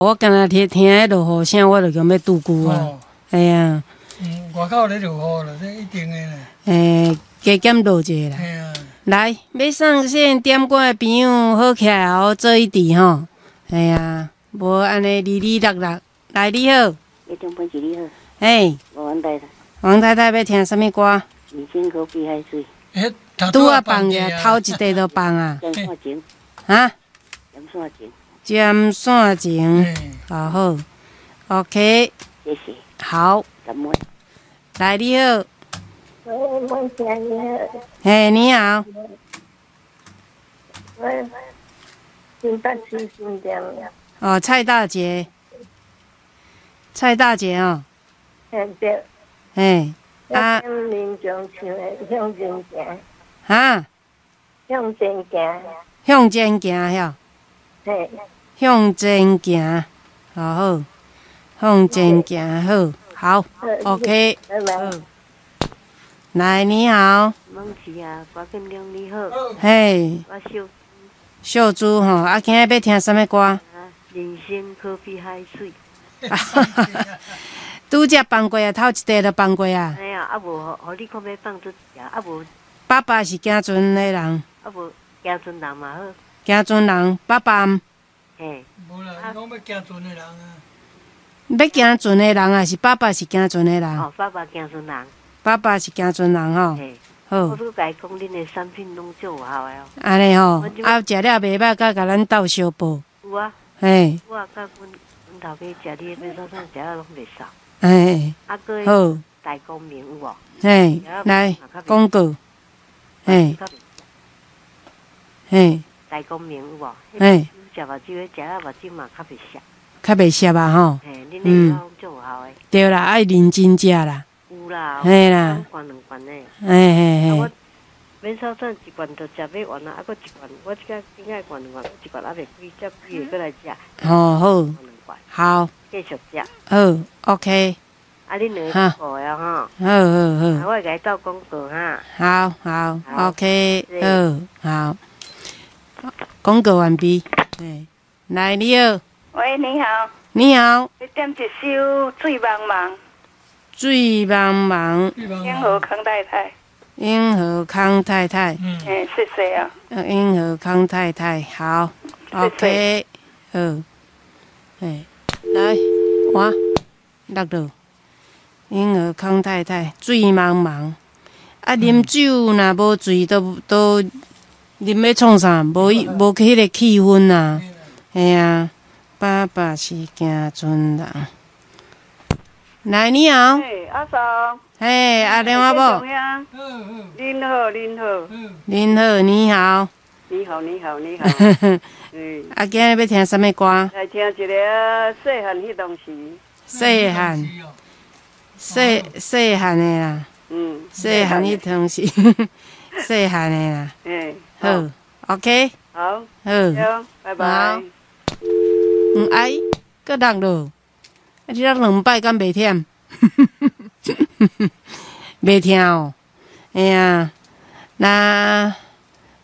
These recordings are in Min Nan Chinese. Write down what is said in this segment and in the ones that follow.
我敢若聽聽彼落雨聲，我就強欲拄久啊。系啊。嗯，外口咧落雨啦，這一定的啦。欸，加減落者啦。嘿啊。來，欲上線點歌的朋友好起來哦，做一致吼。系啊，無按呢離離落落。來，你好。你中本你好。嘿。王太太。王太太欲聽啥物歌？人生可比海水。拄仔放個，頭一塊就放啊。針線情。哈？針線情。針線情，好好，OK。謝謝。好。來，你好。喂，孟姐你好。嘿，你好。喂，新北市新店。哦，蔡大姐。蔡大姐哦。嘿對。嘿。啊。民眾唱的《向前行》。哈？向前行。向前行，曉。嘿。向前行，好好，向前行，好，好，OK。好。來，你好。孟琪啊，郭建良你好。嘿。我秀。秀珠吼，啊，今仔欲聽啥物歌？人生可比海水。拄才放過啊，頭一塊就放過啊。哎呀，啊無，予你講欲放做一啊無。爸爸是行船的人。啊無，行船人嘛好。行船人，爸爸。嘿。無啦，講欲行船的人啊。欲行船的人啊，是爸爸是行船的人。哦，爸爸行船人。爸爸是行船人吼。好。我拄共伊講，恁的產品攏足有效的哦。按呢吼，啊，食了袂歹，佮共咱鬥相報。有啊。嘿。我啊，佮阮阮頭家食你的免洗衫，食了攏袂瘦。嘿。啊，閣好。大光明有無？嘿，來廣告。嘿。嘿。大光明有無？嘿。食目睭，食了目睭嘛較袂澀。較袂澀啊吼。嘿，恁的藥攏足有效的。對啦，愛認真食啦。有啦。嘿啦。兩罐兩罐的。嘿嘿嘿。啊，我免洗衫一罐就食欲完啊，啊，閣一罐，我這個頂下罐兩罐，一罐猶袂開，才幾个閣來食。哦，好。好。繼續食。好，OK。啊，恁兩個顧的吼。好好好。我會共伊鬥廣告哈。好好，OK，好，好。廣告完畢。來，你好。喂，你好。你好。欲點一首《水茫茫》。水茫茫。永和康太太。永和康太太。嗯。謝謝啊。永和康太太，好，OK，好。哎，來，我落落。永和康太太，水茫茫。啊，啉酒若無醉，都都啉欲創啥？無無彼个氣氛啊。嘿啊，爸爸是行船人。來，你好。嘿，阿嫂。嘿，阿良阿某。您好，您好。您好，你好。你好，你好，你好。嗯。啊，今仔欲聽啥物歌？來聽一个細漢彼當時。細漢。細細漢的啦。嗯。細漢彼當時，細漢的啦。嗯。好，OK。好。好。拜拜。嗯，哎，閣落落，啊，你落兩擺敢袂忝？袂疼哦，哎呀，若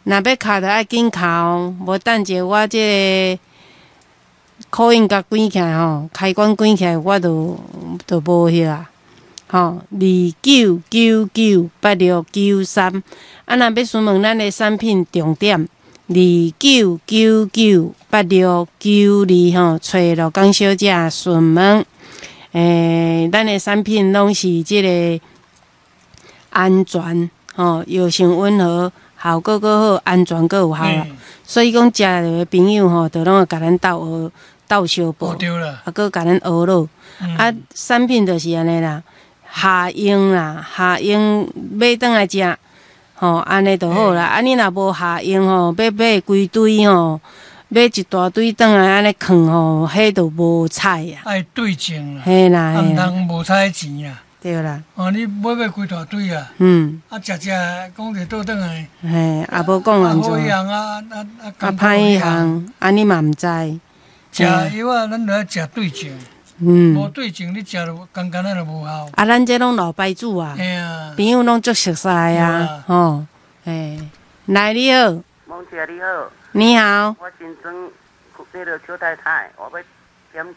若欲敲就愛緊敲，無等者我這个 call in 共關起來吼，開關關起來，我就就無彼啊，吼，29998693，啊，若欲詢問咱的產品重點，29998692吼，揣羅江小姐詢問。欸，咱的產品攏是這个安全，吼，藥性溫和，效果閣好，安全閣有效啦。所以講，食著的朋友吼，就攏會共咱鬥學鬥相報，啊，閣共咱學落。啊，產品就是按呢啦，下用啦，下用買轉來食，吼，按呢就好啦。啊，你若無下用吼，欲買規堆吼，買一大堆轉來按呢囥吼，彼就無彩啊。愛對症啦，嘿啦，毋通無彩錢啦。對啦。哦，你買買規大堆啊。啊，食食講者倒轉來。嘿，也無講按怎。好一項啊啊啊！啊，歹一項，按呢嘛毋知。食藥啊，咱著愛食對症。無對症，你食就簡簡仔就無效。啊，咱這攏老牌子啊，朋友攏足熟似啊，吼，嘿，來你好。孟姐你好。你好。我新莊彼个邱太太，我欲